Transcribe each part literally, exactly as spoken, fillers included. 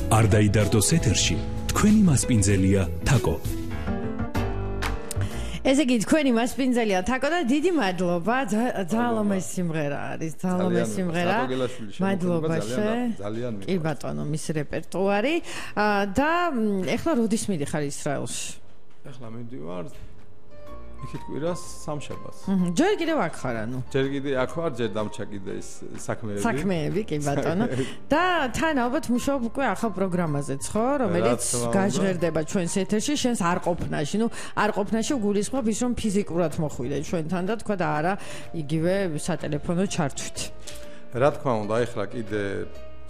არ დაიდარდოს ეთერში თქვენი მასპინძელია თაკო. ესე იგი თქვენი მასპინძელია თაკო და დიდი მადლობა, ძალიან ლამაზი სიმღერა არის, ძალიან ლამაზი სიმღერა. მადლობა ძალიან კი ბატონო, მის რეპერტუარი და ეხლა როდის მიდიხარ ისრაელში? ეხლა მიდივარ იქით კვირას სამშაბათს. ჯერ კიდევ აქ ხარ ანუ? ჯერ კიდე აქ ვარ, ჯერ დამჩა კიდე ის საქმეები. საქმეები, კი ბატონო. და თან ალბათ მუშაობ უკვე ახალ პროგრამაზეც, ხო, რომელიც გაჟღერდება ჩვენს ეთერში, შენს არ ყოფნაში. ნუ არ ყოფნაში გულისხმობ ის, რომ ფიზიკურად მოხვიდე ჩვენთან და თქვა და არა იგივე სატელეფონო ჩართვით. რა თქმა უნდა, ეხლა კიდე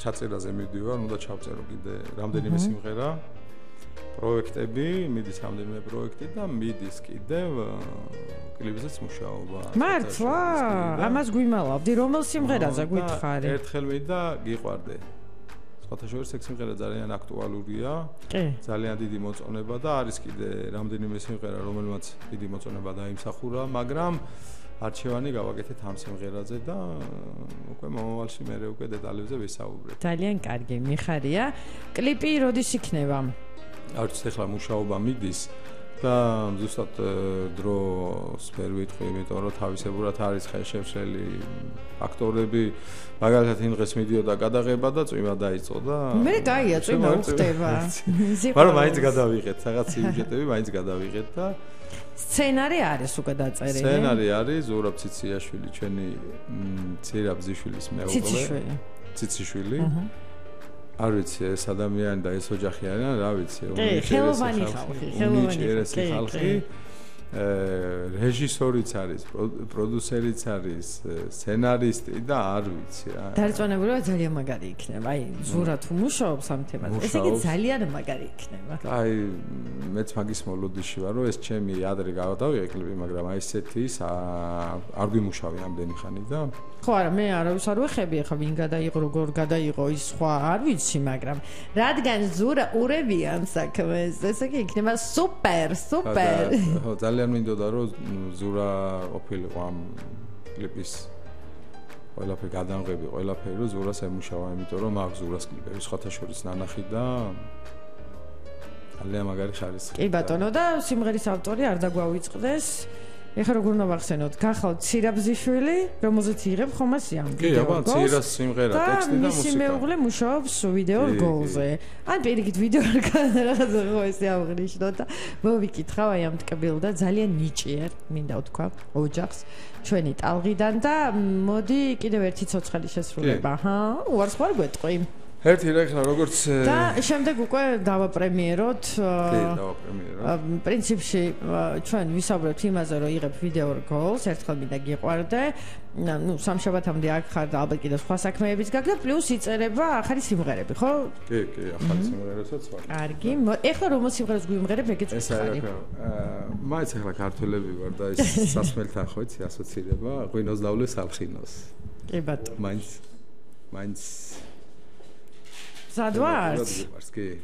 ჩაწერაზე მივდივარ, უნდა ჩავწერო კიდე რამდენიმე სიმღერა. პროექტები, მიდის რამდენიმე პროექტი და მიდის კიდევ კლიპზეც მუშაობა. მართლა? ამას გვიმალავდი, რომელ სიმღერაზე გითხარი? ერთხელ მინდა გიყვარდე. სხვათა შორის ეს სიმღერა ძალიან აქტუალურია. ძალიან დიდი მოწონება და არის კიდე რამდენიმე სიმღერა, რომელმაც დიდი მოწონება დაიმსახურა, მაგრამ არჩევანი გავაკეთეთ ამ სიმღერაზე და უკვე მომავალში მე უკვე დეტალებზე ვისაუბრებ. ძალიან კარგი, მიხარია. კლიპი როდის იქნება? არც ახლა მუშაობა მიდის და ზუსტად დროს ვერ ვიტყვი, იმიტომ რომ თავისებურად არის ხელშემშლელი აქტორები, მაგალითად იმ დღეს მიდიოდა გადაღება და წვიმა დაიწყო და მე გაია წვიმა უხდება. მაგრამ მაინც გადავიღეთ, რაღაც სიუჟეტები მაინც გადავიღეთ და სცენარი არის უკვე დაწერილი. სცენარი არის ზურაბ ციციაშვილი, ჩვენი ცირა ბზიშვილის მეუღლე. ციციშვილი. ციციშვილი. არ ვიცი ეს ადამიანი და ეს ოჯახი არიან, რა ვიცი, ხელოვანი ხალხი, ხელოვანი ხალხი. რეჟისორიც არის, პროდიუსერიც არის, სცენარისტი და არ ვიცი რა. დარწმუნებულია ძალიან მაგარი იქნება. აი, ზურა თუ მუშაობს ამ თემაზე, ესე იგი ძალიან მაგარი იქნება. აი, მეც მაგის მოლოდინში ვარ, რომ ეს ჩემი ადრე გავდავიღე კლიპი, მაგრამ აი ესეთი ის არ გვიმუშავე ამდენი ხანი და ხო არა, მე არავის არ ვეხები, ახლა ვინ გადაიღო, როგორ გადაიღო ის სხვა არ ვიცი, მაგრამ რადგან ზურა ურევიან საქმეს, ესე იგი იქნება სუპერ, სუპერ. ხო, ძალიან მინდოდა რომ ზურა ყოფილიყო ამ კლიპის ყველაფერი გადამღები, ყველაფერი რომ ზურას ემუშავა, იმიტომ რომ მაგ ზურას კლიპები სხვათა შორის ნანახი და ძალიან მაგარი ხარისხი. კი ბატონო და სიმღერის ავტორი არ დაგვავიწყდეს. ეხლა როგორ ნავახსენოთ, გახავთ ცირაბზიშვილი, რომელზეც იღებ ხომას ამ ვიდეო. კი, აბა, ცირას სიმღერა, ტექსტი და მუსიკა. მისი მეუღლე მუშაობს ვიდეო რგოლზე. ან პირიქით ვიდეო რაღაცა ხო ესე აღნიშნო და მოვიკითხავ აი ამ ტკბილ და ძალიან ნიჭიერ, მინდა ვთქვა, ოჯახს ჩვენი ტალღიდან და მოდი კიდევ ერთი ცოცხალი შესრულება. აჰა, უარს ხარ გვეტყვი. ერთი რა ხარ როგორც და შემდეგ უკვე დავაპრემიეროთ. კი, დავაპრემიეროთ. პრინციპში ჩვენ ვისაუბრებთ იმაზე, რომ იღებ ვიდეო რგოლს, ერთხელ მინდა გიყვარდე. ნუ სამშაბათამდე აქ ხარ და ალბათ კიდევ სხვა საქმეებიც გაქვს და პლუს იწერება ახალი სიმღერები, ხო? კი, კი, ახალი სიმღერებსაც ვარ. კარგი. ეხლა რომ სიმღერას გვიმღერებ, ეგეც ვხარი. მაინც ახლა ქართველები ვარ და ის სასმელთან ხო იცი ასოცირება, ღვინოს დავლეს ალხინოს. კი ბატონო. მაინც მაინც სადვარ? კი.